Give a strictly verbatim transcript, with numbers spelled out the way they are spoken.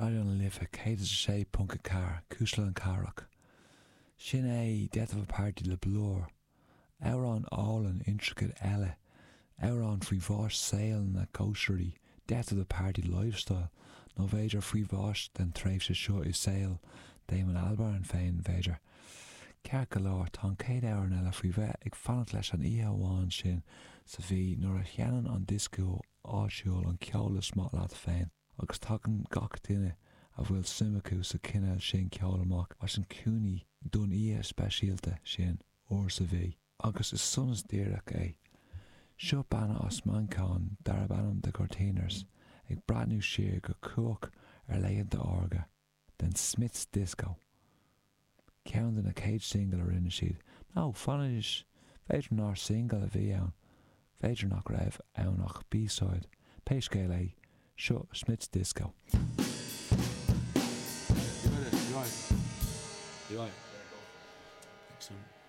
Raidió na Life céad is a sé ponc a ceathair, Cuisle na Cathrach. Sin é Death of a Party le Blur. Amhrán álainn intricate eile, amhrán faoi bháis saol na cóisirí, Death of the Party Lifestyle, nó b'fhéidir faoi bháis den tréimhse seo i saol Damon Albarn féin, b'fhéidir. Ceart go leor, tá an chéad amhrán eile faoi bheith ag fanacht leis an oíche amháin sin sa mhí nuair a sheinneann an dioscó áitiúil an ceol is maith leat féin agus tagann gach duine a bhfuil suim acu sa chineál sin ceoil amach as an cúinní don oíche speisialta sin uair sa mhí. Agus is sonas díreach é. Seo banna as Manchain darb ainm The Courteeners ag breathnú siar go cumhach ar laethanta órga den Smiths Disco. Ceann de na chéad singil a rinne siad. Nó fanaimis b'fhéidir nár single a bhí ann, b'fhéidir nach raibh ann ach B-side, pé scéal é, seo Smiths Disco. You ready? You right? You right? Excellent.